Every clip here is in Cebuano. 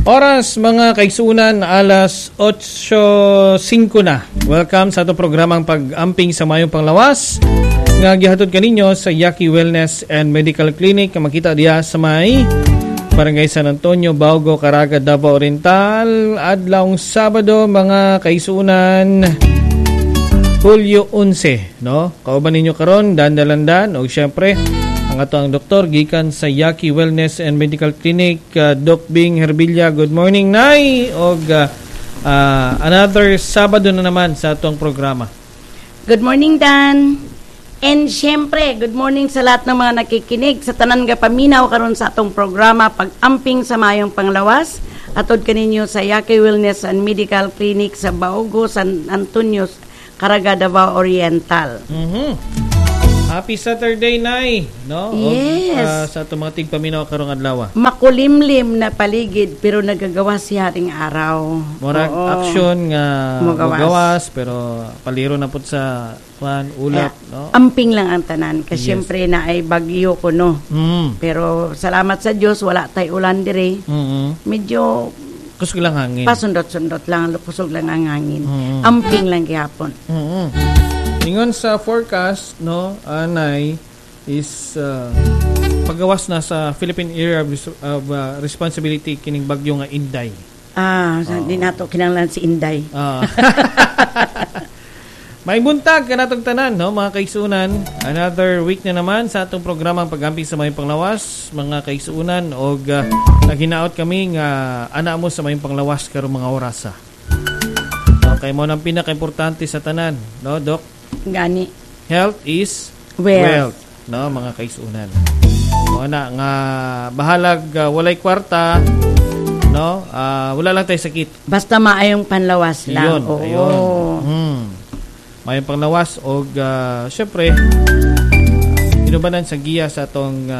Oras, mga kaigsunan, alas 8:05 na. Welcome sa atong programang Pag-amping sa Mayong Panglawas nga gihatod kaninyo sa Yaki Wellness and Medical Clinic nga makita diha sa may Barangay San Antonio, Baugo, Caraga, Davao Oriental. Adlawng Sabado, mga kaigsunan, Hulyo 11, no? Kauban ninyo karon Dan Dalandan ug syempre ang ato ang doktor gikan sa Yaki Wellness and Medical Clinic, Doc Bing Herbilla. Good morning, Nay. Og another Sabado na naman sa atong programa. Good morning, Dan. And syempre, good morning sa lahat ng mga nakikinig sa tanan nga paminaw karon sa atong programa Pag-amping sa Mayong Panglawas. Atod kaninyo sa Yaki Wellness and Medical Clinic sa Baugo, San Antonio, Caraga, Davao Oriental. Happy Saturday, Nay, no? Og, Yes. sa atong mga tigpaminaw karong adlaw. Makulimlim na paligid pero nagagawa si Haring Araw. Murag action nga Mugawas. mugawas pero paliro na pud sa kuan ulap, no? Amping lang ang tanan kasi syempre na ay bagyo ko, no. Pero salamat sa Diyos, wala tay ulan dire. Medyo Kusog lang hangin. pasundot-sundot lang, kusog lang ang hangin. Amping lang gihapon. Ingon sa forecast, no, anay is pagawas na sa Philippine Area of Responsibility kining bagyo nga Inday. Ah, di nato kinahanglan si Inday. May buntag kanatong tanan, no, mga kaigsunan. Another week na naman sa atong programang Pag-amping sa Mayong Panglawas, mga kaigsunan, og naghinaot kami nga ana mo sa mayong panglawas karong mga orasa. Okay, mo nang pinaka-importante sa tanan, no, Doc? Gani. Health is wealth, wealth, no, mga kaigsunan. Mo na nga bahalag walay kwarta, no? Wala lang tayo sakit. Basta maayong panlawas lang. Ayun, ayun. Maayong panglawas og syempre inubanan sa giya sa atong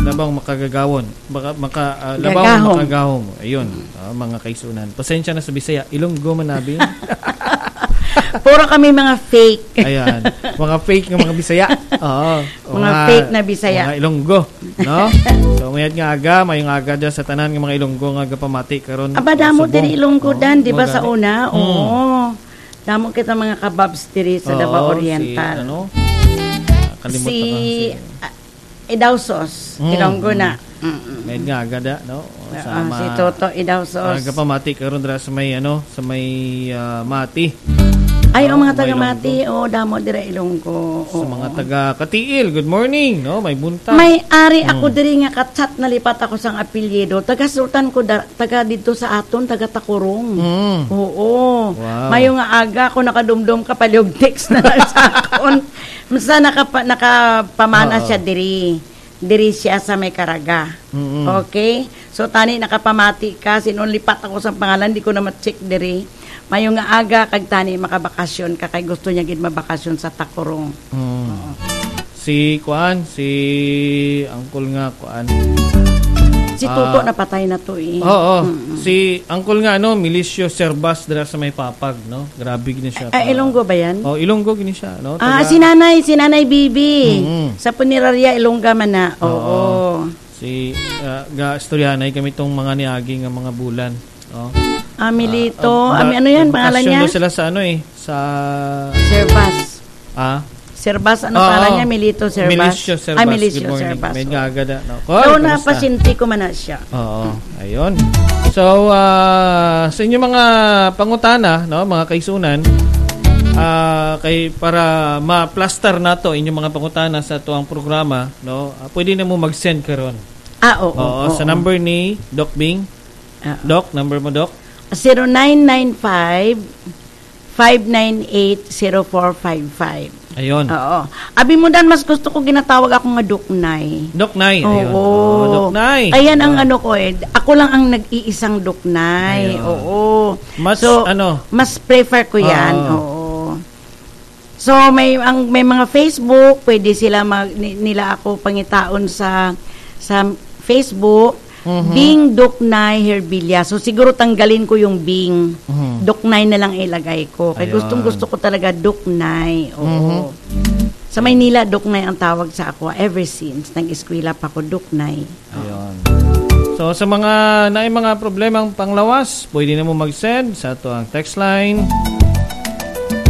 labang makagagawon, baka maka labang gagahom. Makagahom. Ayun, mga kaigsunan. Pasensya na sa Bisaya, Ilonggo man nabi. Puro kami mga fake. Ayan, mga fake nga mga Bisaya. Oo. Mga fake na Bisaya. Mga Ilonggo, no? So mayad nga aga, mayong aga dyan sa tanan nga mga Ilonggo nga gapamati karon. Aba, damo subong. din Ilonggo Oo, dan, di ba mga sa gani. una? Oo. Damo kita mga kababs diri sa Davao Oo, Oriental. si ano? Kalimot Si, na ka, si Idausos, Ilonggo na. Mayad nga aga da, no? O, sa Si Toto Idausos. Mga gapamati karon dira sa may ano, sa may Mati. Ay, ang mga Oo, may taga Mati, oo, damo dira Ilonggo. Sa Oo. mga taga Katiil, good morning, no? May buntag. May ari ako diri nga katsat nalipat ako sang apelyido. Taga Sultan ko da, taga dito sa aton, taga Takurong. Oo. Wow. Mayo nga aga ako nakadumdum ka palihog text na lang sa akon. Basta nakapamana siya diri. Diri siya sa may Caraga. Okay? So tani nakapamati ka sinon lipat ako sa pangalan di ko na ma-check diri. Mayo nga aga kag tani makabakasyon ka kay gusto niya gid mabakasyon sa Takurong. Si Kuan, si Uncle nga Kuan. Si Toto napatay na to eh. Oo. Si Uncle nga ano, Milicio Servas dira sa may Papag, no? Grabe gini siya. Ay, Ilonggo ba yan? Oh, Ilonggo gini siya, no? Ah, si Nanay Bibi. Sa punerarya Ilongga man na. Oo. Si ga istoryanay kami tong mga niagi nga mga bulan, no? Ah, Milito. Ami, ano yan? Pangalan Bakasyon niya? daw sila sa ano eh, sa Servas. ah Servas, ano Oo. pangalan niya? Milito Servas. Milicio Servas. Ah, Milicio Good morning. Servas. May nga da, no? Koy, So, kumusta? napasinti ko man na siya. Oo, ayun. So, sa inyong mga pangutana, no, mga kaisunan, kay para ma-plaster nato inyong mga pangutana sa tuang programa, no, pwede na mo mag-send karon. Ah, oo. Oo, sa number ni Doc Bing. Doc, number mo, Doc? 0995 598 0455. Ayun. Oo. Abi mo dan, mas gusto ko ginatawag ako nga Duknay. Doc Nay. Ayun. Oo. Oo, Doc Nay. Ayan ang ano ko eh. Ako lang ang nag-iisang Duknay. Ayun. Oo. Mas, so, ano? Mas prefer ko yan. Oo. Oo. So may mga Facebook, pwede sila nila ako pangitaon sa Facebook. Bing Duknay Herbilia. So siguro tanggalin ko yung Bing. Duknay na lang ilagay ko. Kay Ayun. gustong gusto ko talaga Duknay. Oo. Sa Maynila, Duknay ang tawag sa ako ever since. Nag-eskwela pa ako, Duknay. Ayun. So sa mga naay mga problemang panglawas, pwede na mo mag-send sa ato ang text line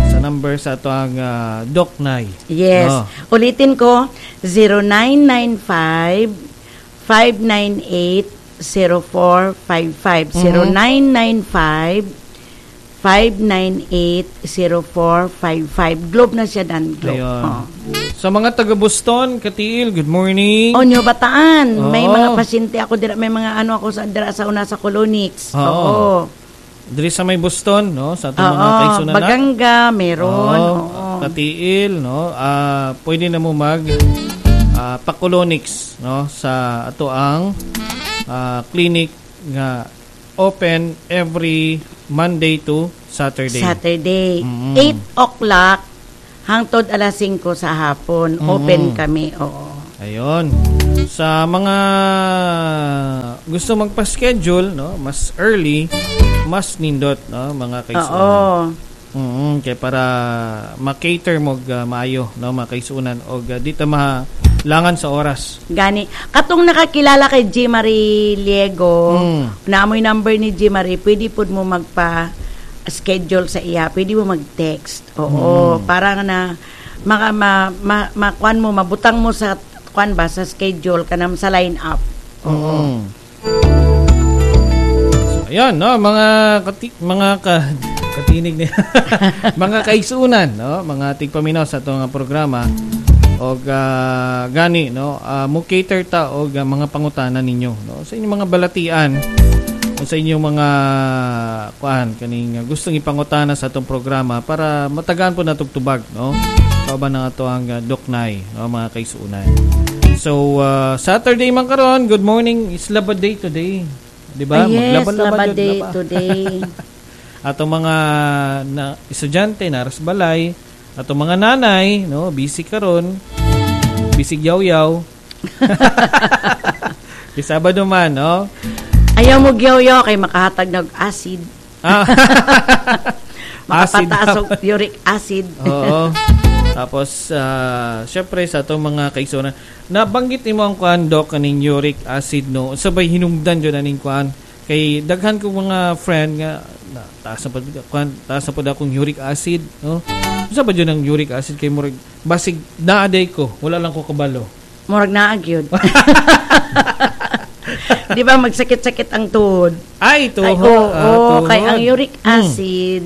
sa number sa ato ang Doc Nay. Yes. No. Ulitin ko, 0995 598 0455. 0995 598 0455. Globe na siya dan, Globe. Ayun. Oh. Sa mga taga Boston, Katiil, good morning. Onyo Bataan, may mga pasyente ako dira, may mga ano ako sa dira sa una sa Colonix. Oo. Oo. Diri sa may Boston, no, sa atong mga kaigsunan na. Baganga meron. Oo, Oo. Katiil, no. Pwede na mo mag Pacolonix, no, sa ato ang clinic nga open every Monday to Saturday. Saturday. 8 o'clock hangtod alas 5 sa hapon. Open kami. Oo. Ayun. Sa mga gusto magpa-schedule, no, mas early, mas nindot, no, mga kaigsunan. Kay para ma-cater mo maayo, no, mga kaigsunan og di ta malangan sa oras. Gani. Katong nakakilala kay G. Marie Liego, naamoy number ni G. Marie, pwede pud mo magpa schedule sa iya, pwede mo mag-text. Oo, para na maka ma, ma, makuan mo, mabutang mo sa kuan ba, sa schedule kanang sa line up. Oo. So, ayun, no, mga mga katinig ni mga kaigsunan, no, mga tigpaminaw sa atong programa og gani, no, mo cater ta og mga pangutana ninyo, no, sa inyong mga balatian o sa inyong mga kuan kaning gustong ipangutana sa atong programa para matagaan po natog tubag, no, kauban ng ato ang Doc Nay, no, mga kaigsunan. So Saturday man karon, good morning, it's Laba Day today. Di ba? Ah, yes, Maglaba-laba Laba jud, Day laba. today. Atong mga na, estudyante naras balay, atong mga nanay, no, busy karon. Busy yaw-yaw. Di Sabado man, no? Ayaw mo gyaw kay makahatag ng acid. Acid. Makapataas og uric acid. Oo. Tapos, syempre, sa atong mga kaigsunan, nabanggit nimo ang kuan, Doc, kaning uric acid, no? Sabay hinungdan jud aning kuan. Kay daghan kong mga friend nga, na, taas na pud kuan, taas na pud akong uric acid, no? Unsa ba jud ang uric acid kay murag basig naaday ko, wala lang ko kabalo. Murag naa gyud. Di ba magsakit-sakit ang tuhod? Ay, tuhod. Ay, oo, Ah, kay ang tuhod. uric acid,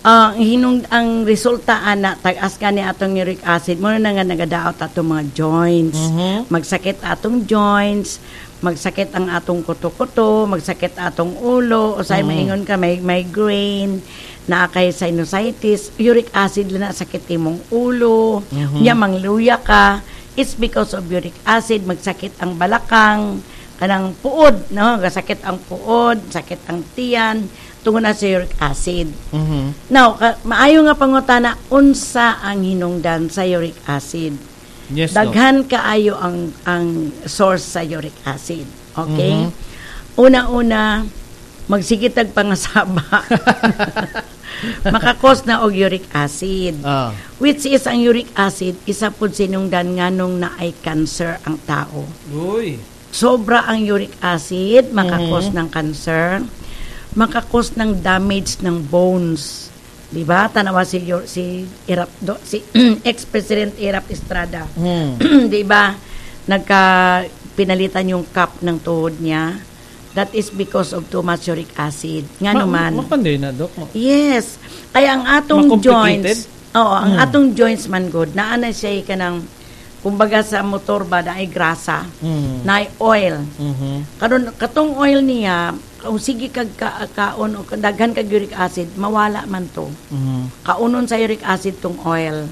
ang hinung ang resulta ana tag-as ka ni atong uric acid mo na nga nagadaot atong mga joints. Magsakit atong joints, magsakit ang atong kuto-kuto, magsakit atong ulo, usay maingon ka may migraine, naa kay sinusitis, uric acid lang na sakit imong ulo, nya mangluya ka. It's because of uric acid, magsakit ang balakang, kanang puod, no? Gasakit ang puod, sakit ang tiyan, tungod na sa uric acid. Now, maayo nga pangutana, unsa ang hinungdan sa uric acid? Yes, Doc. Daghan kaayo ang source sa uric acid. Okay? Una-una, magsigitag pangasaba. Makakos na og uric acid. Which is ang uric acid, isa pud sinungdan nganong naay cancer ang tao. Uy. Sobra ang uric acid, makakos ng cancer, makakos ng damage ng bones. Di ba? Tanawa si si Erap do, si ex-president Erap Estrada. Di ba? Nagka pinalitan yung cup ng tuhod niya. That is because of too much uric acid. Nga naman. Mapanday na, Doc. Yes. Kaya ang atong Ma-complicated? joints, oo, ang atong joints man good, naa na siya kanang kumbaga sa motor ba naay grasa, naay oil. Karon katong oil niya, kung sige kag kaon o daghan kag uric acid, mawala man to. Kaunon sa uric acid tong oil.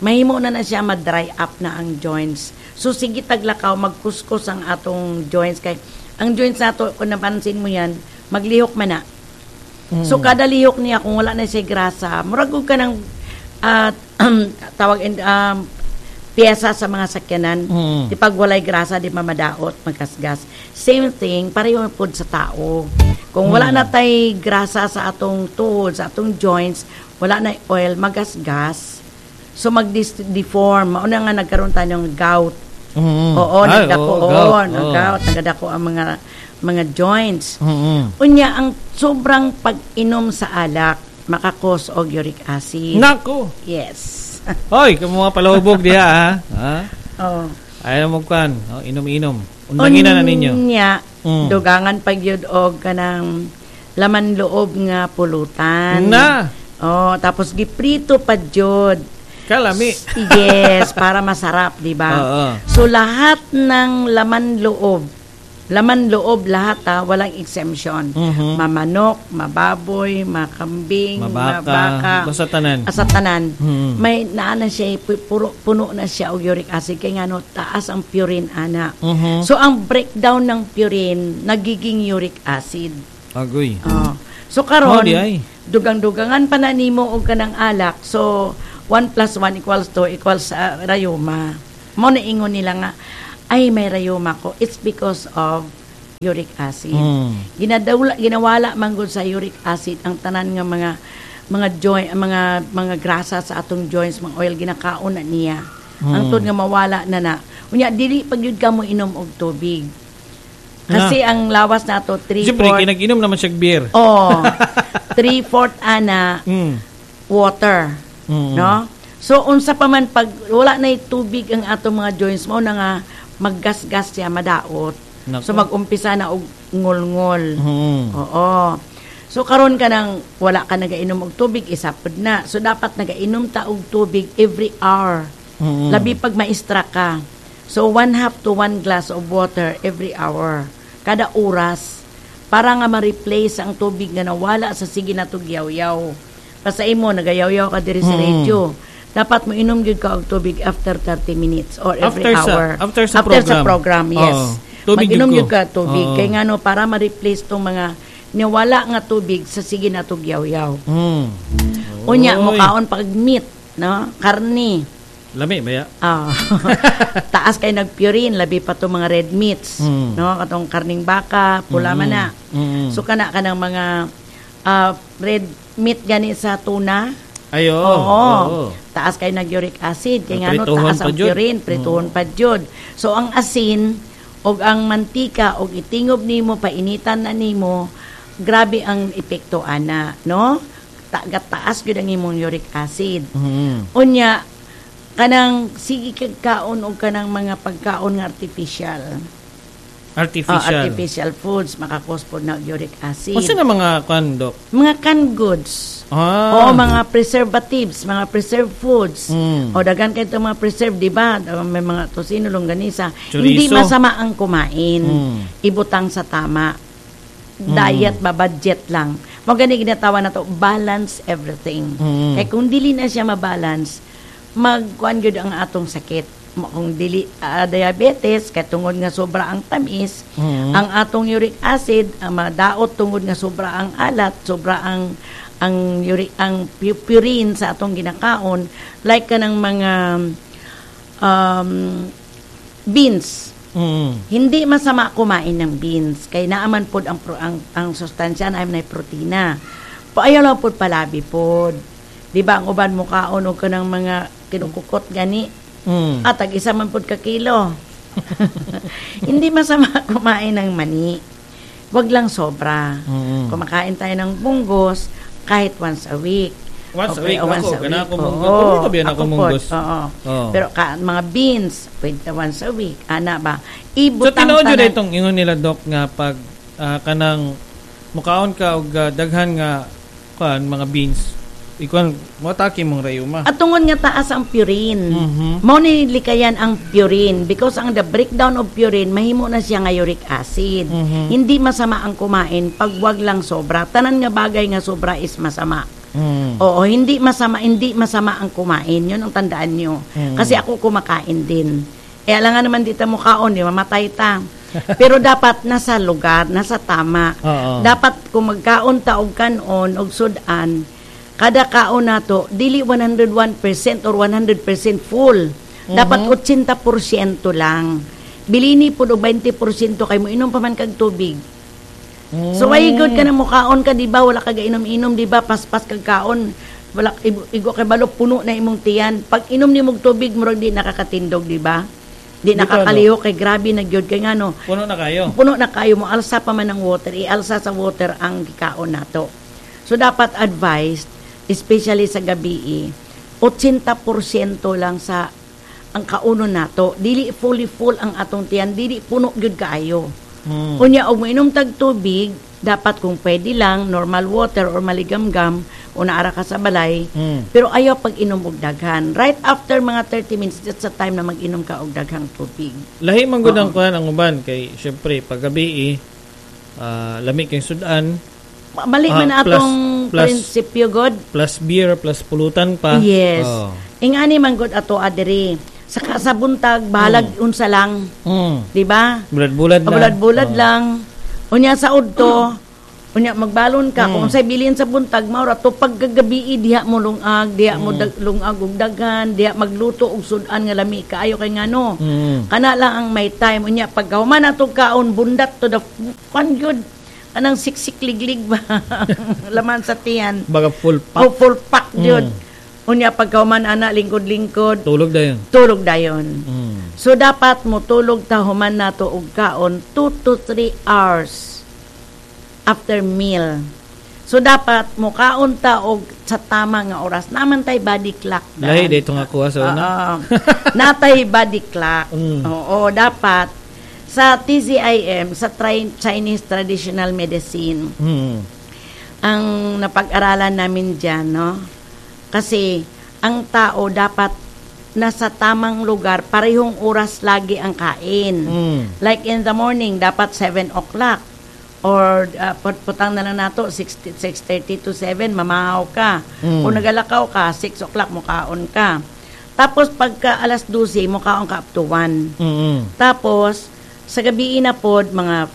Mahimo na na siya ma-dry up na ang joints. So sige taglakaw, magkuskus ang atong joints kay ang joints nato kung napansin mo yan, maglihok man na. So kada lihok niya kung wala na siya grasa, murag og ka ng tawag piyesa sa mga sakyanan. Di pag walay grasa, di mamadaot, magkasgas. Same thing, pareho pod sa tao. Kung wala na tay grasa sa atong tuhod, sa atong joints, wala na oil, magasgas. So mag-deform. Mauna nga nagkaroon tayo ng gout. Oo, Ay, nagdako. oo, Oo, gout. Nag-gout, nagadako ang mga joints. Unya, ang sobrang pag-inom sa alak maka-cause og uric acid. Nako. Yes. Hoy, kamo mga palahubog diha ha. Ha? Oh. Ayaw mo kan, oh, inom-inom. Undangin na ninyo. Unya, dugangan pag yun og kanang laman loob nga pulutan. Na. Oh, tapos giprito pa jud. Kalami. Yes, para masarap, di ba? Oo. So lahat ng laman loob lahat ha, walang exemption. Mamanok, mababoy, makambing, Mabaka, mabaka. basta tanan. Asa tanan. May naa na siya, puro, puno na siya og uric acid kay ngano taas ang purine ana. So ang breakdown ng purine nagiging uric acid. Agoy. Oh. So karon Oh, di ay. dugang-dugangan pa na nimo og kanang alak. So 1 plus 1 equals 2 equals rayuma. Mo na ingon nila nga, "Ay, may rayuma ko." It's because of uric acid. Ginadawla, ginawala man gud sa uric acid ang tanan nga mga joint, mga grasa sa atong joints, mga oil, ginakaon na niya. Ang tud nga mawala na na. Unya dili pag yun ka mo inom og tubig. Kasi ang lawas nato 3 Siyempre, kinag-inom naman siya beer. Oh, 3/4 ana water. No? So unsa pa man pag wala na tubig ang atong mga joints mo na nga maggasgas siya, madaot. Nako. So mag-umpisa na og ngol-ngol. Oo. So karon ka nang wala ka nagainom og tubig, isa pud na. So dapat nagainom ta og tubig every hour. Labi pag maistra ka. So 1/2 to 1 glass of water every hour. Kada oras para nga ma-replace ang tubig nga nawala sa sige na yaw-yaw. Basta imo nagayaw-yaw ka diri sa radio. Dapat mo inom gyud ka og tubig after 30 minutes or every After hour. After sa program. Program, yes. Oo. Tubig gyud Mag-inom ko. gyud ka tubig kay ngano para ma-replace tong mga niwala nga tubig sa sige na yaw-yaw. Unya Oy. mukaon pag meat, no? Karni. Lami ba ya? Ah. Taas kay nagpurine, labi pa tong mga red meats, no? Katong karning baka, pula man na. So kana kanang mga red meat gani sa tuna. Ayo. Oo. Taas kay nag-uric acid kay ngano Prituhon taas pa ang jud. purine, prituhon pa jud. So ang asin og ang mantika og itingob nimo, painitan na nimo, grabe ang epekto ana, no? Taas gyud ang imong uric acid. Unya kanang sige kag kaon og kanang mga pagkaon nga artificial. Artificial. Ah, artificial foods maka-cause pod na uric acid. Unsa na mga kwan, Dok? Mga canned goods. Oo, mga preservatives, mga preserved foods. O daghan kay mga preserved, di ba? May mga tosino, longganisa. Chorizo. Hindi masama ang kumain. Ibutang sa tama. Diet ba, budget lang. Mo gani ginatawa na to, balance everything. Kay kung dili na siya mabalance, magkuan gyud ang atong sakit. Kung dili diabetes kay tungod nga sobra ang tamis, ang atong uric acid ang madaot tungod nga sobra ang alat, sobra ang uric, ang purine sa atong ginakaon, like kanang mga beans. Hindi masama kumain ng beans kay naaman pod ang ang sustansya na ay protina. Ayaw lang pod palabi pod. Di ba ang uban mo kaon og kanang mga kinukukot gani? At tag isa man pod ka kilo. Hindi masama kumain ng mani. Wag lang sobra. Kumakain tayo ng munggos kahit once a week. Once a week Oh, once ako, a gana week. ako munggos. Oo, Paborito ba yan ako ako pod, munggos? oo. Oo. Pero mga beans, pwede once a week. Ana ba? So Ibutang tinuod jud tanan. itong ingon nila, Doc, nga pag kanang mukaon ka og daghan nga kuan mga beans, ikuan mo atake mong rayuma. At tungod nga taas ang purine. Mao ni likayan ang purine because ang the breakdown of purine mahimo na siya nga uric acid. Hindi masama ang kumain pag wag lang sobra. Tanan nga bagay nga sobra is masama. Oo, hindi masama ang kumain. 'Yun ang tandaan nyo. Kasi ako kumakain din. Eh alangan naman dito mo kaon, di mamatay ta. Pero dapat nasa lugar, nasa tama. Dapat kung magkaon ta og kanon og sudan, kada kaon nato dili 101% or 100% full. Dapat 80% lang. Bilini pud og 20% kay mo inom pa man kag tubig. So why good ka na mukaon ka, di ba? Wala ka gainom-inom, di ba? Paspas kag kaon. Wala igo kay balo puno na imong tiyan. Pag inom nimo og tubig, murag di nakakatindog, di ba? Di Dito, nakakalihok kay grabe na gyud kay ngano. Puno na kayo. Puno na kayo mo alsa pa man ang water, ialsa sa water ang gikaon nato. So dapat advised, especially sa gabi, 80% lang sa ang kaunon nato. Dili fully full ang atong tiyan, dili puno gyud kaayo. Unya og moinom tag tubig, dapat kung pwede lang normal water or maligamgam o naara ka sa balay. Pero ayaw pag inom og daghan. Right after mga 30 minutes, that's the time na mag-inom ka og daghang tubig. Lahi man gud ang kuan ang uban kay syempre pag gabi lami kay sudan. Mali man atong prinsipyo god. Plus beer plus pulutan pa. Yes. Ingani man gud ato adiri. Sa buntag bahalag unsa lang, di ba? Bulad-bulad na. Bulad-bulad lang. Unya sa udto, unya magbalon ka kung unsay bilin sa buntag mao ra to. Pagkagabi diha mo lungag, diha mo lungag og daghan, diha magluto og sudan nga lami kaayo kay ngano. Kana lang ang may time. Unya pagkahuman ato kaon, bundat to the kwan gyud, kanang siksik liglig ba laman sa tiyan. Baga full pack. O full pack gyud. Unya pagkahuman ana, lingkod-lingkod, Tulog dayon. Tulog dayon. So dapat mo tulog ta human nato og kaon 2 to 3 hours after meal. So dapat mo kaon ta og sa tama nga oras. Naman tay body clock. Lahi dito nga kuha sa una. Oo. Natay body clock. Oo, dapat sa TCIM, sa Chinese Traditional Medicine, ang napag-aralan namin dyan, no? Kasi ang tao dapat nasa tamang lugar, parehong oras lagi ang kain. Like in the morning, dapat 7 o'clock. Or putang na lang nato, 6, 6:30 to 7, mamahaw ka. Kung nagalakaw ka, 6 o'clock, mukaon ka. Tapos pagka alas 12, mukaon ka up to 1. Tapos, sa gabi na pod, mga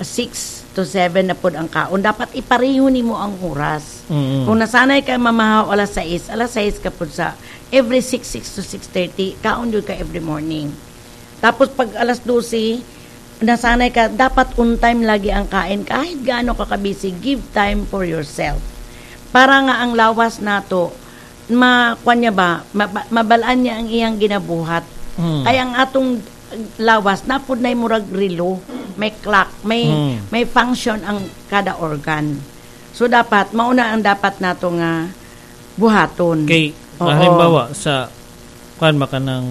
6 to 7 na pod ang kaon. Dapat ipareho nimo ang oras. Kung nasanay ka mamahaw alas 6, alas 6 ka pod sa every 6, 6 to 6:30, kaon jud ka every morning. Tapos pag alas 12, nasanay ka, dapat on time lagi ang kain. Kahit gaano ka kabisi, give time for yourself. Para nga ang lawas nato, ma, niya ba, mabalaan niya ang iyang ginabuhat. Kaya ang atong lawas, napud na murag relo, may clock, may may function ang kada organ. So dapat mauna ang dapat nato nga buhaton. Kay halimbawa sa kuan maka ng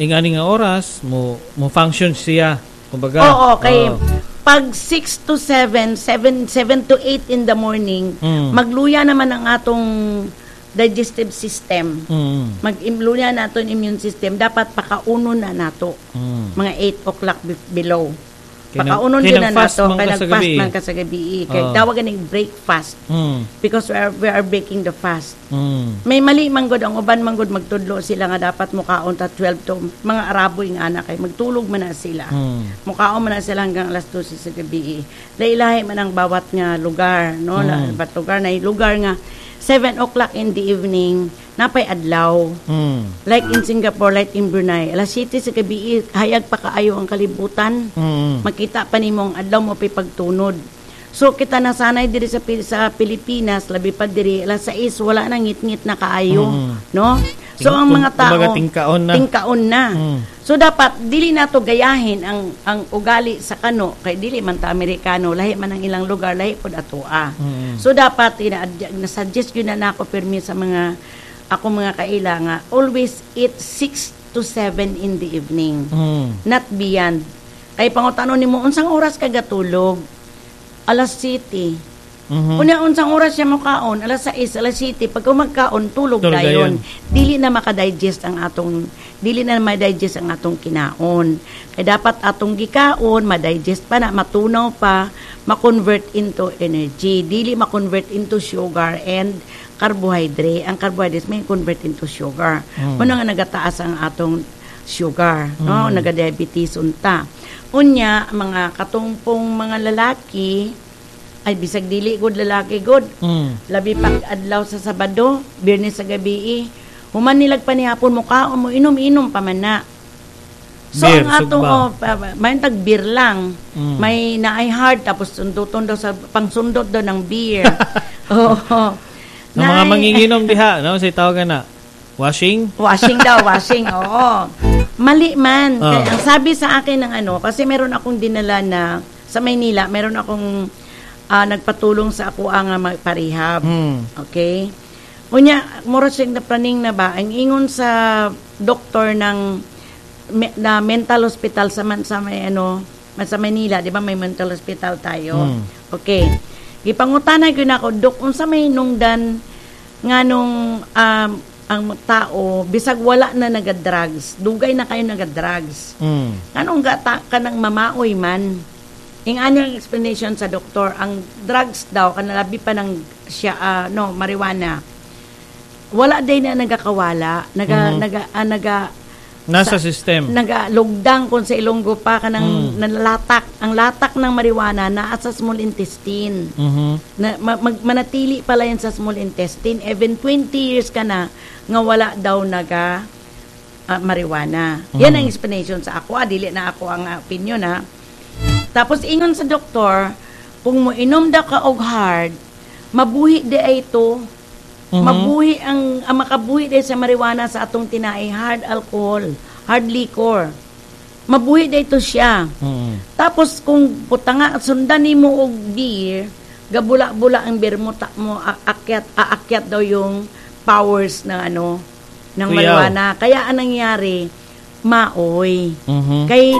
ingani nga oras mo mo function siya kumbaga. Oo, kay pag 6 to 7, 7 7 to 8 in the morning, magluya naman ang atong digestive system. Mag-luya na aton immune system, dapat pakauno na nato. Mga 8 o'clock below. Kay Pakaunon kay din na nag-fast nato man kay ka sa nag-fast gabi. Man ka sa gabi. Kay tawag ganing breakfast because we are breaking the fast. May mali man gud ang uban man gud, magtudlo sila nga dapat mukaon ta 12 to, mga Araboy nga anak kay magtulog man na sila. Mukaon man na sila hanggang alas 12 sa gabi. Lailahi man ang bawat nga lugar, no? Bawat lugar na lugar nga 7 o'clock in the evening napay adlaw. Like in Singapore, like in Brunei, alas 7 sa gabi hayag pa kaayo ang kalibutan. Makita pa nimo ang adlaw mo pay pagtunod. So kita nasanay diri sa Pilipinas, labi pa diri alas 6 wala na, ngit-ngit na kaayo, no? So ang mga tao kumbaga tingkaon na. Tingkaon na. So dapat dili nato gayahin ang ugali sa kano kay dili man ta Amerikano, lahi man ang ilang lugar, lahi pod atoa. So dapat ina na-suggest yun na nako pirmi sa mga ako mga kaila nga always eat 6 to 7 in the evening, not beyond. Kay pangutano nimo, unsang oras ka gatulog? Alas 7. Unya unsang oras siya mokaon? Alas 6, alas 7. Pag magkaon, tulog Tulog dayon. dayon. Dili na ma-digest ang atong kinaon. Kay dapat atong gikaon, ma-digest pa na, matunaw pa, ma-convert into energy. Dili ma-convert into sugar and carbohydrate. Ang carbohydrates may convert into sugar. Mao nga nagataas ang atong sugar, no? Naga-diabetes unta. Unya mga katungpong mga lalaki, ay bisag dili gud lalaki gud, labi pag adlaw sa Sabado, Biyernes sa gabi eh. Human nilag panihapon mo kaon mo inom-inom pa man na. So Beer, ang atong sugba. Oh, may tag beer lang. May naay hard tapos sunduton daw sa pangsundot daw ng beer. Oo. Ang mga manginginom diha, no? Say tawagan na. Washing? Washing daw, washing. Oo. Mali man. Ah. Kaya ang sabi sa akin ng ano, kasi meron akong dinala na sa Maynila, meron akong nagpatulong sa ako ang magparehab. Okay? Unya, mura siyang napraning na ba, ang ingon sa doktor ng na mental hospital sa man, sa may ano, sa Manila, di ba may mental hospital tayo? Okay. Gipangutana gyud nako, "Dok, unsa may nungdan nga nung ang tao bisag wala na naga-drugs, dugay na kayo naga-drugs. Anong gata ka ng mamaoy man?" Ing ano ang explanation sa doktor, ang drugs daw kanalabi pa ng siya no marijuana. Wala day na nagakawala, naga naga naga Nasa system. Nagalugdang kung sa Ilonggo pa kanang nalalatak. Ang latak ng marijuana naa sa small intestine. Na, manatili pala yan sa small intestine. Even 20 years ka na nga wala daw naga marijuana. Yan ang explanation sa ako. Dili na ako ang opinion ha. Tapos ingon sa doktor, kung mo inom daw ka og hard, mabuhi di ay ito. Mabuhi ang makabuhi di sa marijuana sa atong tinai, hard alcohol, hard liquor. Mabuhi di ito siya. Tapos kung putanga sundan nimo og beer, gabula-bula ang beer mo, ta, mo aakyat aakyat daw yung powers ng ano ng Kuyaw. marijuana. Kaya anong nangyari? Maoy. Kay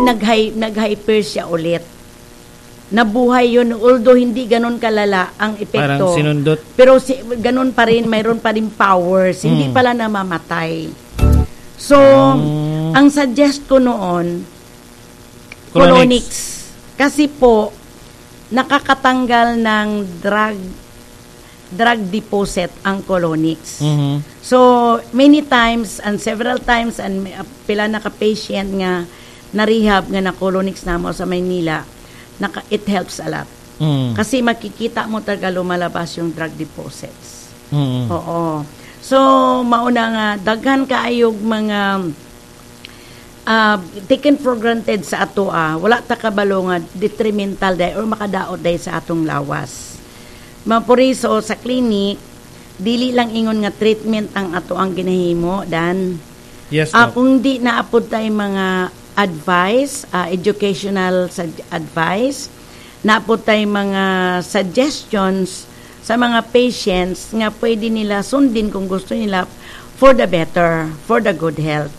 nag-hyper siya ulit. Nabuhay yun, although hindi ganon kalala ang epekto. Parang sinundot. Pero ganon pa rin, mayroon pa rin powers. Hindi pala namamatay. So, ang suggest ko noon, Colonics. Colonics. Kasi po, nakakatanggal ng drug deposit ang Colonics. So, many times and several times and pila na ka-patient nga na-rehab nga na Colonics namo sa Maynila, it helps a lot. Kasi makikita mo talaga lumalabas yung drug deposits. Oo. So, mauna nga, daghan kaayog mga taken for granted sa ato wala ta kabalo nga detrimental day or makadaot day sa atong lawas. Mapuriso sa clinic, dili lang ingon nga treatment ang ato ang ginahimo dan Yes, Doc. Kung di naapod tayo mga advice, educational advice, naapod tayo mga suggestions sa mga patients nga pwede nila sundin kung gusto nila for the better, for the good health.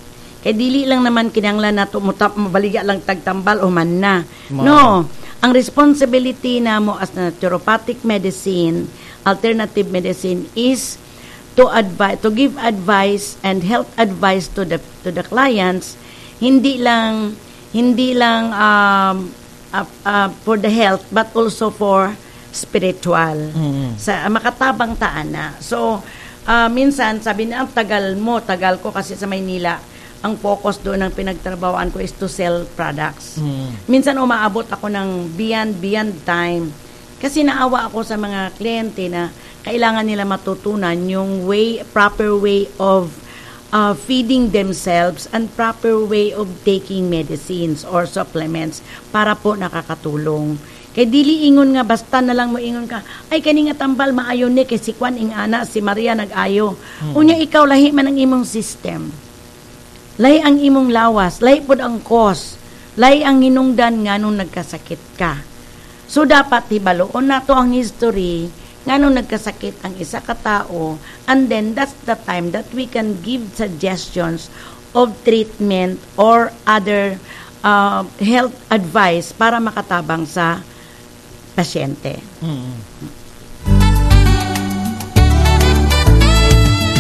Kay dili lang naman kinanglan nato mutap mabaligya lang tagtambal o man na. No, ang responsibility namo as naturopathic medicine, alternative medicine is to advise, to give advice and health advice to the clients, hindi lang for the health but also for spiritual sa makatabang taan na. So minsan sabi na ang tagal mo, tagal ko kasi sa Maynila, ang focus doon ng pinagtrabahoan ko is to sell products. Minsan umaabot ako ng beyond beyond time kasi naawa ako sa mga kliyente na kailangan nila matutunan yung way proper way of feeding themselves and proper way of taking medicines or supplements para po nakakatulong. Kay dili ingon nga basta na lang mo ingon ka, "Ay, kani nga tambal maayo ni kay si Kwan ing ana, si Maria nag-ayo." Unya ikaw, lahi man ang imong system. Lahi ang imong lawas, lahi pod ang cause, lahi ang hinungdan nganong nagkasakit ka. So dapat hibaluon nato ang history nganong nagkasakit ang isa ka tao, and then that's the time that we can give suggestions of treatment or other health advice para makatabang sa pasyente.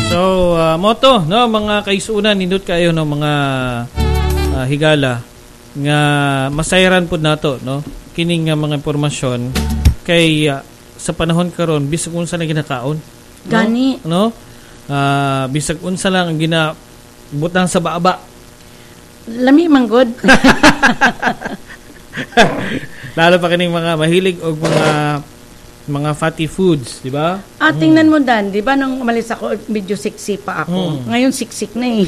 So, moto, no, mga kaisunan, nindot kayo, no, mga higala nga masayran pud nato, no, kining nga mga impormasyon kay sa panahon karon bisag unsa na ginakaon, no? Gani. No? Bisag unsa lang ang gina butang sa baba. Lami man gud. Lalo pa kining mga mahilig og mga Mga fatty foods, di ba? Ah, tingnan mo, Dan, di ba nung umalis ako, medyo sexy pa ako. Ngayon, siksik na eh.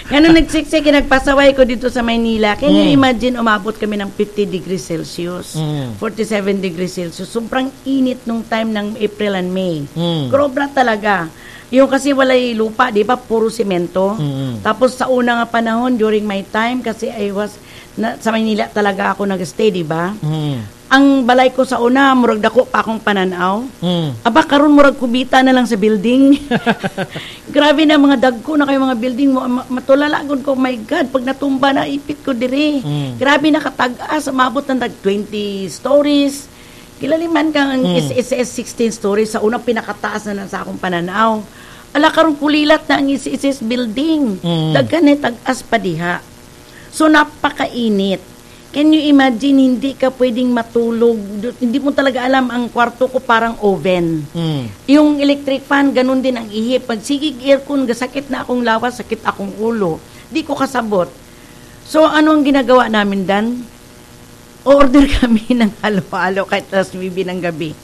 Ngayon, nagsiksik, nagpasaway ko dito sa Maynila. Can you imagine, umabot kami ng 50 degrees Celsius, 47 degrees Celsius. Sobrang init nung time ng April and May. Grobra talaga. Yung kasi walay lupa, di ba? Puro semento. Tapos sa una nga panahon, during my time, kasi I was, na, sa Maynila talaga ako nag-stay, di ba? Ang balay ko sa una, murag dako pa akong pananaw. Aba, karon murag kubita na lang sa building. Grabe na mga dagko na kayo mga building mo. Matulala gud ko, my God, pag natumba na ipit ko dire. Grabe na katag-as, umabot ng tag 20 stories. Kilaliman kang ang SSS 16 stories sa unang pinakataas na sa akong pananaw. Ala, karon kulilat na ang SSS building. Daghan na tag-as pa diha. So napakainit. Can you imagine, hindi ka pwedeng matulog? Hindi mo talaga alam, ang kwarto ko parang oven. Yung electric fan, ganun din ang ihip. Pag sigig aircon, gasakit na akong lawas, sakit akong ulo. Di ko kasabot. So, ano ang ginagawa namin, Dan? Order kami ng halo-halo kahit alas 9 ng gabi.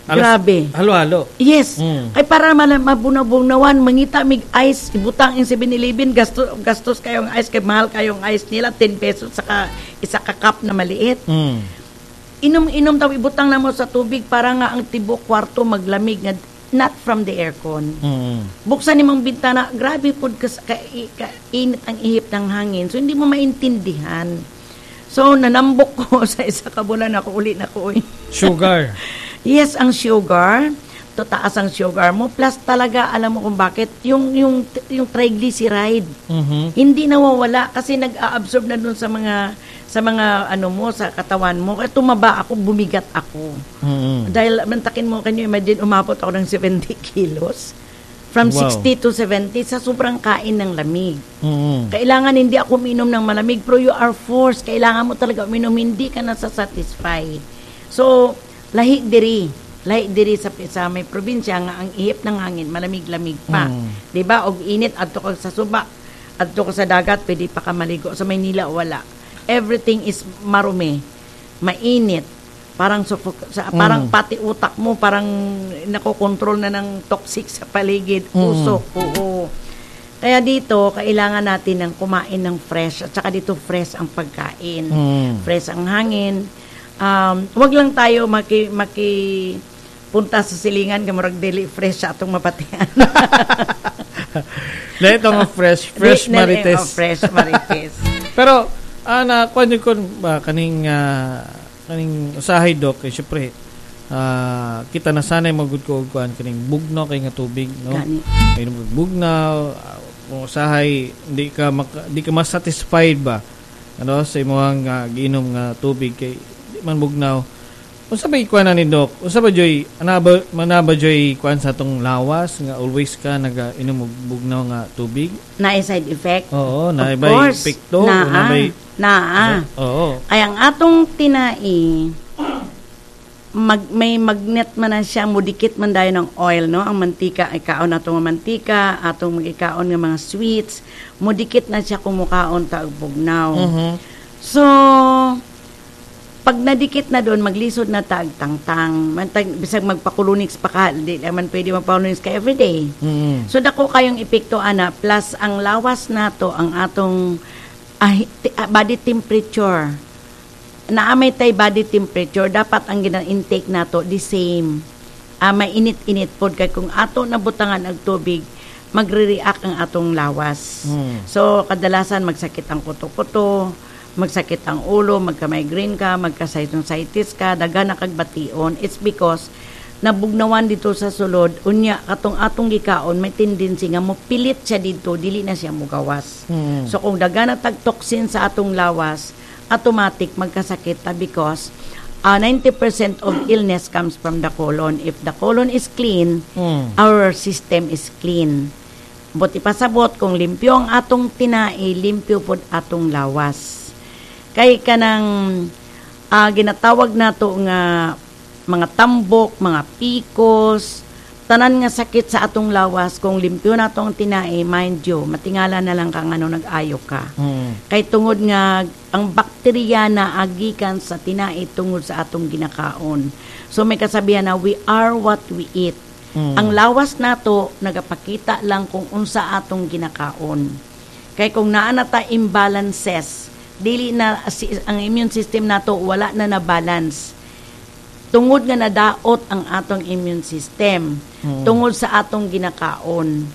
Grabe. Halo-halo. Yes. Kay para mabunabugnawan, mangita mig ice, ibutang in 7-Eleven, gastos, gastos kayong ice, kay mahal kayong ice nila, 10 pesos saka isa ka cup na maliit. Inom-inom taw, ibutang na mo sa tubig para nga ang tibok kwarto maglamig nga not from the aircon. Buksan nimong bintana, grabe pud ka, init ang ihip ng hangin. So hindi mo maintindihan. So nanambok ko sa isa ka bulan ako uli na ko, oy. Sugar. Yes, ang sugar, to taas ang sugar mo plus talaga alam mo kung bakit yung triglyceride hindi nawawala kasi nag-a-absorb na dun sa mga ano mo sa katawan mo. Kaya tumaba ako, bumigat ako. Dahil mantakin mo, can you imagine, umabot ako ng 70 kilos. From 60 to 70 sa sobrang kain ng lamig. Kailangan hindi ako uminom ng malamig, pero you are forced. Kailangan mo talaga uminom, hindi ka nasa-satisfy. So, lahi diri. Lahi diri sa may probinsya nga ang ihip ng hangin, malamig-lamig pa. 'Di ba? Og init adto ka sa suba, adto ka sa dagat, pwede pa ka maligo. Sa Maynila, wala. Everything is marumi, mainit. Parang parang pati utak mo parang nakokontrol na ng toxic sa paligid, usok. Oo. Kaya dito, kailangan natin ng kumain ng fresh. At saka dito, fresh ang pagkain. Fresh ang hangin. Wag lang tayo maki punta sa silingan kay murag dili fresh sa atong mapatian. Lahat nga fresh, fresh marites. Oh, fresh marites. Pero ana kuan ko ba kaning usahay, Dok, kay syempre kita nasanay magud ko og kuan kaning bugnaw kay nga tubig, no? Gani. Kay bugnaw, kung usahay di ka mas-satisfied ba ano sa imong giinom nga tubig kay di man bugnaw. Unsa ba ikuan na ni Doc? Unsa ba joy ana ba mana ba joy kuan sa atong lawas nga always ka nagainom og bugnaw nga tubig? Na side effect? Oo, na Of bay course. epekto, Naa. na bay Naa. Ay ang atong tinai may magnet man na siya, mudikit man dayon ng oil, no? Ang mantika, ikaon nato nga mantika, atong magikaon nga mga sweets, mudikit na siya kung mukaon ta og bugnaw. So, pag nadikit na doon, maglisod na tag tangtang. Mantag, bisag magpakulunix pa ka, di naman pwede magpakulunix ka everyday. So dako kayong epekto ana, plus ang lawas nato, ang atong body temperature. Naamay tay body temperature, dapat ang gina-intake nato the same. May init-init pod kay kung ato nabutangan og tubig, magre-react ang atong lawas. So kadalasan magsakit ang kuto-kuto, magsakit ang ulo, magka-migraine ka, magka-sinusitis ka, daghan na kag bation. It's because nabugnawan dito sa sulod, unya katong atong gikaon may tendency nga mo pilit siya dito, dili na siya mugawas. So kung daghan na tag toxin sa atong lawas, automatic magkasakit ta because 90% of illness comes from the colon. If the colon is clean, our system is clean. But ipasabot kung limpyo ang atong tinai, limpyo pod atong lawas. Kay kanang ginatawag nato nga mga tambok, mga PCOS, Tanan nga sakit sa atong lawas, kung limpyo na atong tinai, mind you, matingala na lang ka ngano nag-ayo ka. Kay tungod nga ang bakterya na agikan sa tinai tungod sa atong ginakaon. So may kasabihan na we are what we eat. Ang lawas nato nagapakita lang kung unsa atong ginakaon. Kay kung naa na ta imbalances, dili na ang immune system nato, wala na na balance. Tungod nga nadaot ang atong immune system tungod sa atong ginakaon.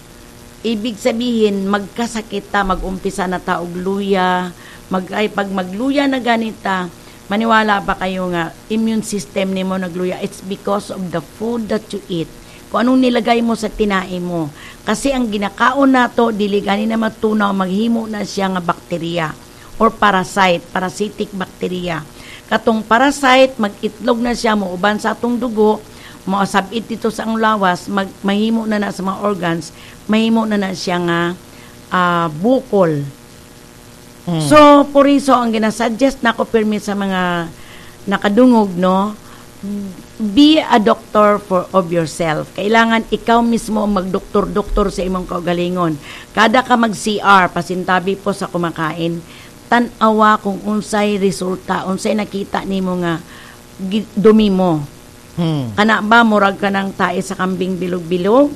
Ibig sabihin, magkasakit ta, mag-umpisa na ta og luya, ay pag magluya na ganita, maniwala ba kayo nga immune system nimo nagluya? It's because of the food that you eat. Kung anong nilagay mo sa tinai mo. Kasi ang ginakaon nato, dili gani na matunaw, maghimo na siya nga bakterya or parasite, parasitic bacteria. Katong parasite, mag-itlog na siya, muuban sa atong dugo, moasabit dito sa ang lawas, mahimo na na sa mga organs, mahimo na na siya nga bukol. So, por eso, ang ginasuggest nako pirmi sa mga nakadungog, no, be a doctor for of yourself. Kailangan ikaw mismo ang magdoktor-doktor sa imong kaugalingon. Kada ka mag-CR, pasintabi po sa kumakain, tan-awa kung unsay resulta, unsay nakita nimo nga dumi mo. Kana ba murag ka ng tae sa kambing bilog-bilog?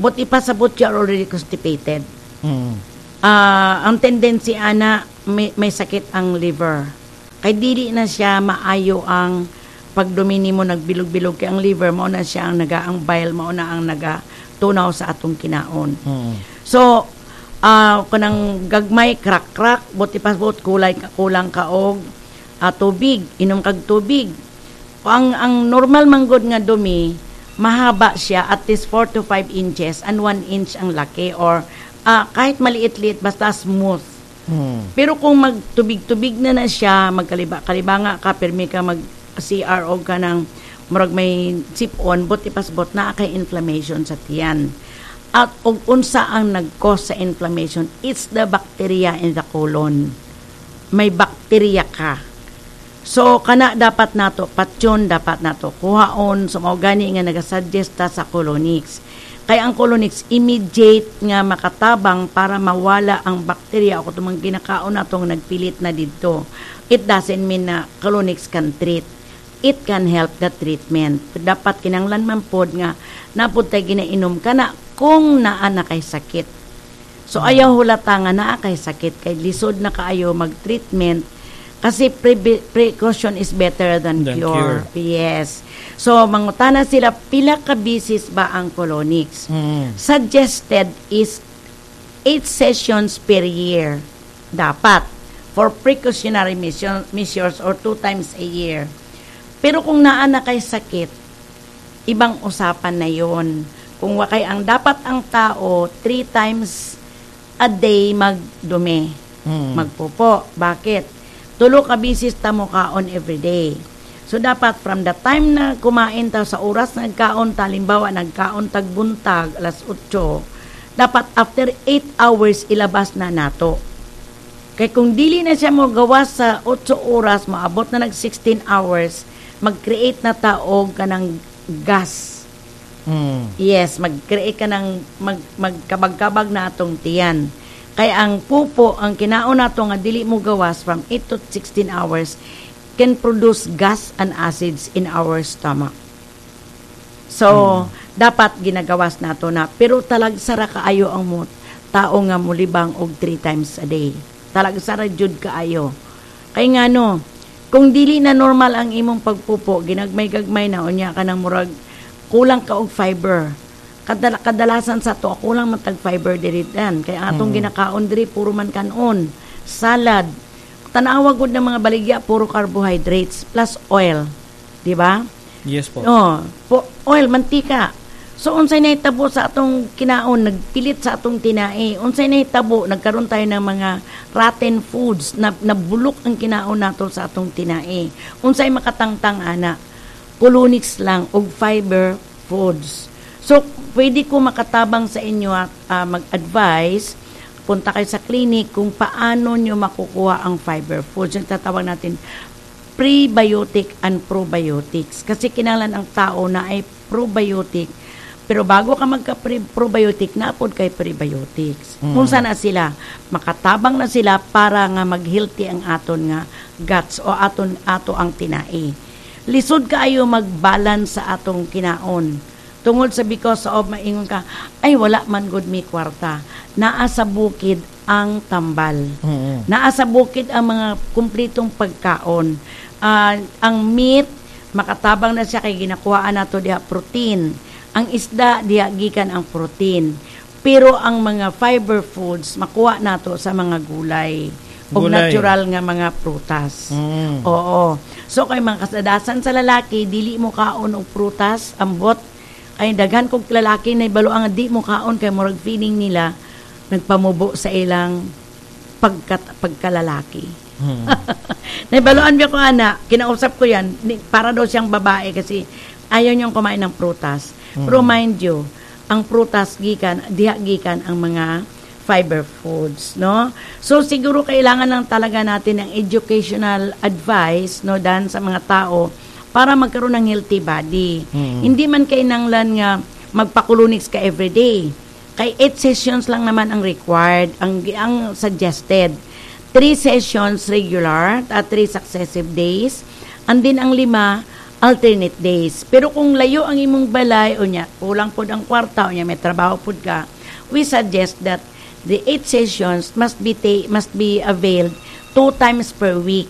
Buti pa sa but you are already constipated. Ang tendency ana may sakit ang liver. Kay dili na siya maayo ang pagdumi nimo, nagbilog-bilog, kay ang liver mao na siya ang naga, ang bile mao na ang naga tunaw sa atong kinaon. So kanang gagmay crack-crack, buti pa but kulay kulang ka og tubig, inom kag tubig. Ang normal manggod nga dumi, mahaba siya, at least 4 to 5 inches and 1 inch ang laki or kahit maliit-liit, basta smooth. Pero kung magtubig-tubig na na siya, magkaliba-kalibanga ka, pirmi ka mag CR o ka ng murag may sip-on, but ipasbot na kay inflammation sa tiyan. At og unsa ang nag-cause sa inflammation? It's the bacteria in the colon. May bacteria ka. So kana dapat nato patyon, dapat nato kuhaon. So mao gani nga nagasuggest ta sa colonics. Kay ang colonics immediate nga makatabang para mawala ang bakterya o tumang ginakaon natong nagpilit na didto. It doesn't mean na colonics can treat. It can help the treatment. Dapat kinanglan man pod nga napud tay ginainom kana kung naa na kay sakit. So ayaw hulata nga naa kay sakit kay lisod na kaayo mag-treatment kasi precaution is better than cure. Cure. Yes. So mangutana sila, pila ka bisis ba ang colonics? Suggested is 8 sessions per year dapat for precautionary measures or 2 times a year. Pero kung naa na kay sakit, ibang usapan na yon. Kung wakay ang dapat ang tao 3 times a day magdumi, magpupo. Bakit? Tulo ka bisis ta mo kaon every day. So dapat from the time na kumain ta, sa oras nagkaon ta, halimbawa nagkaon tag buntag alas 8, dapat after 8 hours ilabas na nato. Kay kung dili na siya mo gawas sa 8 oras, maabot na nag 16 hours, mag-create na ta og kanang gas. Yes, mag-create ka ng magkabag-kabag na atong tiyan. Kay ang pupo, ang kinaon nato nga dili mo gawas from 8 to 16 hours can produce gas and acids in our stomach. So, dapat ginagawas nato na. Pero talagsara kaayo ang mo tao nga mulibang og 3 times a day. Talagsara jud kaayo. Kay ngano, kung dili na normal ang imong pagpupo, ginagmay-gagmay na, unya ka nang murag kulang ka og fiber. Kadalasan sa to kulang man tag fiber diri dan. Kay ang atong ginakaon diri puro man kanon, salad. Tanawa gud ng mga baligya, puro carbohydrates plus oil, di ba? Yes po. Oh, po, oil, mantika. So unsay nahitabo sa atong kinaon, nagpilit sa atong tinai. Unsay nahitabo, nagkaroon tayo ng mga rotten foods na nabulok ang kinaon nato sa atong tinai. Unsay makatangtang ana? Colonics lang og fiber foods. So pwede ko makatabang sa inyo at mag-advise, punta kayo sa clinic kung paano nyo makukuha ang fiber foods. Yung tatawag natin prebiotic and probiotics. Kasi kinahanglan ang tao na ay probiotic. Pero bago ka magka-probiotic, naa pod kay prebiotics. Kung na sila, makatabang na sila para nga mag-healthy ang aton nga guts o aton ato ang tinai. Lisod kaayo mag-balance sa atong kinaon. Tungod sa because of maingon ka, "Ay, wala man gud mi kwarta." Naa sa bukid ang tambal. Naa sa bukid ang mga kumplitong pagkaon. Ang meat, makatabang na siya kay ginakuhaan nato diha protein. Ang isda, diha gikan ang protein. Pero ang mga fiber foods makuha nato sa mga gulay o Gulay. Natural nga mga prutas. Oo. So kay mga kasadasan sa lalaki, dili mo kaon og prutas, ambot. Ay, daghan kog lalaki na ibalo ang di mo kaon kay murag feeling nila nagpamubo sa ilang pagkalalaki. Naibaluan biya ko ana, kinausap ko yan, para daw siyang babae kasi ayaw niyang kumain ng prutas. Pero mind you, ang prutas gikan, diha gikan ang mga fiber foods, no? So siguro kailangan lang talaga natin ng educational advice, no, dan sa mga tao para magkaroon ng healthy body. Hindi man kainanglan nga magpa-colonics ka everyday. Kay 8 sessions lang naman ang required, ang suggested. 3 sessions regular at 3 successive days. And then ang 5 alternate days. Pero kung layo ang imong balay o nya, kulang pod ang kwarta o nya may trabaho pod ka, we suggest that the 8 sessions must be availed two times per week.